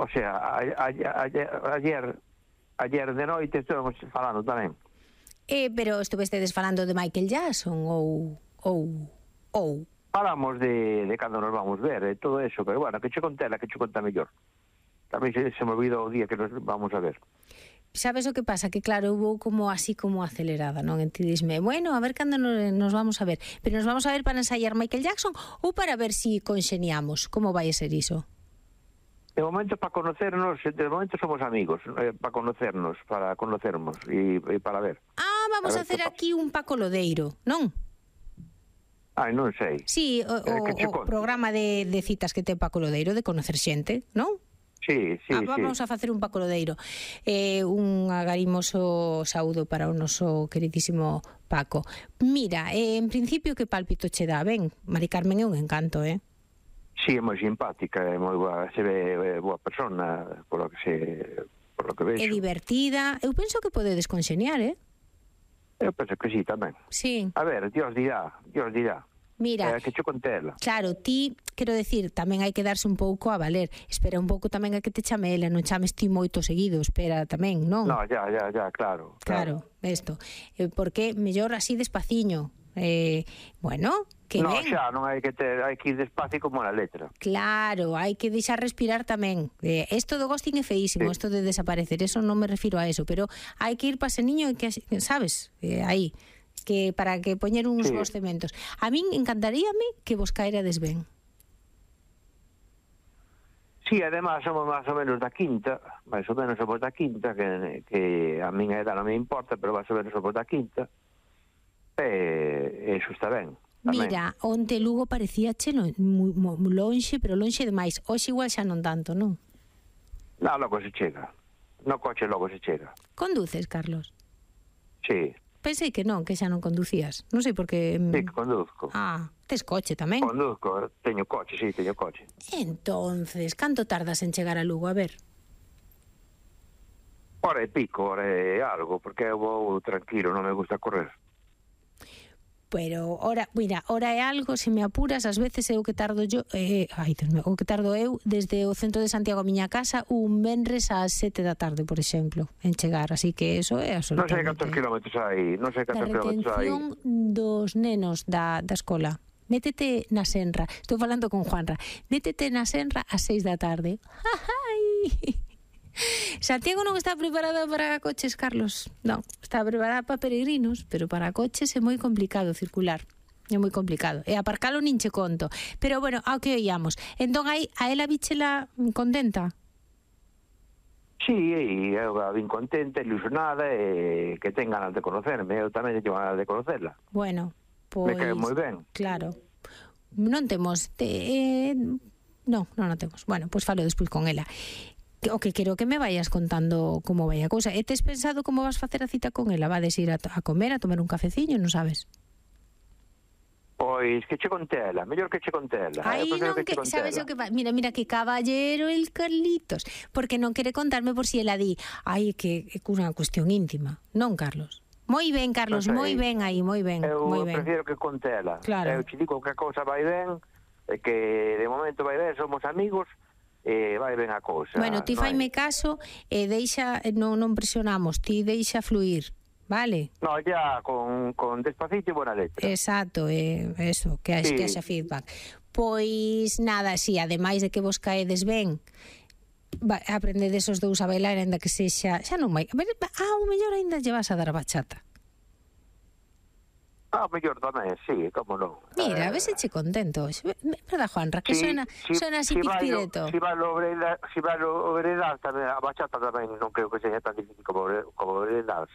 O sea, ayer de noite estuvemos falando tamén. Pero estuvestedes falando de Michael Jackson ou... Falamos de cando nos vamos ver e todo eso, pero bueno, que che conta mellor. Tamén se me olvidou o día que nos vamos a ver. Sabes o que pasa? Que claro, hubo como así como acelerada, non? E ti disme, bueno, a ver cando nos vamos a ver. Pero nos vamos a ver para ensayar Michael Jackson ou para ver si conxeniamos? Como vai a ser iso? De momento para conocernos, de momento somos amigos, para conocernos e para ver. Vamos a hacer aquí un Paco Lodeiro, non? Ai, non sei. Sí, o programa de citas que ten Paco Lodeiro, de conocer xente, non? Sí. Vamos a facer un Paco Lodeiro. Un agarimoso saúdo para o noso queridísimo Paco. Mira, en principio que pálpito che dá, ben? Mari Carmen é un encanto, Sí, é moi simpática, é moi boa, se ve boa persona, por lo que vexo. É divertida. Eu penso que podedes conxeniar, Eu penso que sí, tamén. Sí. A ver, Dios dirá. Mira, Que che contela. Claro, ti, quero decir, tamén hai que darse un pouco a valer. Espera un pouco tamén a que te chame ela, non chames ti moito seguido, espera tamén, non? No, ya, claro. Claro, isto. Porque mellor así despaciño. Bueno, que no, ben. xa, non hai que ir despacio como na letra. Claro, hai que deixar respirar tamén. Isto do ghosting é feísimo, isto de desaparecer, eso non me refiro a eso, pero hai que ir para ese niño e que, sabes, aí, que para que poñer uns bons cementos. A min encantaríame que vos caerades ben. Sí, además somos máis ou menos da quinta, que a min a edad non me importa, pero máis ou menos somos da quinta, e iso está ben. Tamén. Mira, onte Lugo parecía moi lonxe, pero lonxe demais. Hoxe igual xa non tanto, non? No, logo se chega. No coche logo se chega. Conduces, Carlos? Sí. Pensei que non, que xa non conducías. Non sei por que... Sí, que conduzco. Tes coche tamén? Conduzco, teño coche. Entonces, canto tardas en chegar a Lugo? A ver. Hora e pico, hora e algo, porque eu vou tranquilo, non me gusta correr. Pero, mira, hora é algo, se me apuras, ás veces é o que tardo eu, o que tardo eu desde o centro de Santiago a miña casa un venres ás 7 da tarde, por exemplo, en chegar, así que eso é absolutamente... Non sei cantos kilómetros hai, Da retención dos nenos da escola. Métete na Senra, estou falando con Juanra, métete na Senra ás 6 da tarde. Santiago non está preparada para coches, Carlos. Non, está preparada para peregrinos, pero para coches é moi complicado circular. É moi complicado. E aparcalo nin che conto. Pero bueno, ao que oíamos. Entón aí, a ela bichela contenta? Sí, eu a vin contenta, ilusionada, e que ten ganas de conocerme. Eu tamén teño ganas de conocerla. Bueno, pois... Me cae moi ben. Claro. Non temos... Non temos. Bueno, pois falo despois con ela. O que quero que me vayas contando como vai a cousa. E tes pensado como vas facer a cita con ela? Vades ir a comer, a tomar un cafeciño, non sabes? Pois que che contela, mellor que che contela. Ai, non, que sabes o que va. Mira que caballero el Carlitos, porque non quere contarme por si ela di, ai, que é unha cuestión íntima. Non, Carlos? Moi ben, Carlos, moi ben aí, moi ben. Eu prefiro que contela. Claro. Eu te digo que a cousa vai ben, que de momento vai ben, somos amigos, vai ben a cousa. Bueno, ti faime caso e deixa, non presionamos, ti deixa fluir, vale? No, ya con despacito e buena letra. Exacto, eso, que haxa feedback. Pois nada, si, ademais de que vos caedes ben, aprendedes os dous a bailar, ainda que sexa, xa non vai, o mellor ainda lle vas a dar a bachata. Mellor tamén, sí, como non. Mira, a veces che contento. Verdad, Juanra, que suena así pizpireto. Si va lo veredal tamén, a bachata tamén non creo que sexa tan difícil como veredal.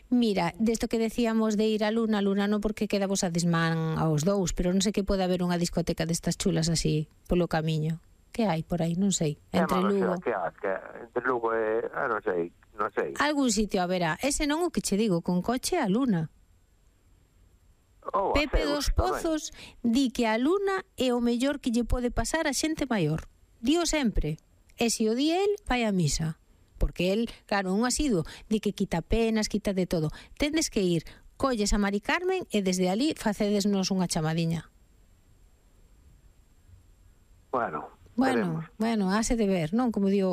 Mira, desto que decíamos de ir a Luna non porque queda vos a desmán aos dous, pero non sei que pode haber unha discoteca destas chulas así polo camiño. Que hai por aí? Non sei. Entre Lugo. Entre Lugo e... non sei. Algún sitio haberá. Ese non o que che digo, con coche a Luna. Pepe dos Pozos di que a Luna é o mellor que lle pode pasar a xente maior. Dío sempre. E se o di el, vai a misa. Porque el, claro, un asiduo, di que quita penas, quita de todo. Tendes que ir, colles a Mari Carmen e desde ali facedesnos unha chamadiña. Bueno, hase de ver, non? Como digo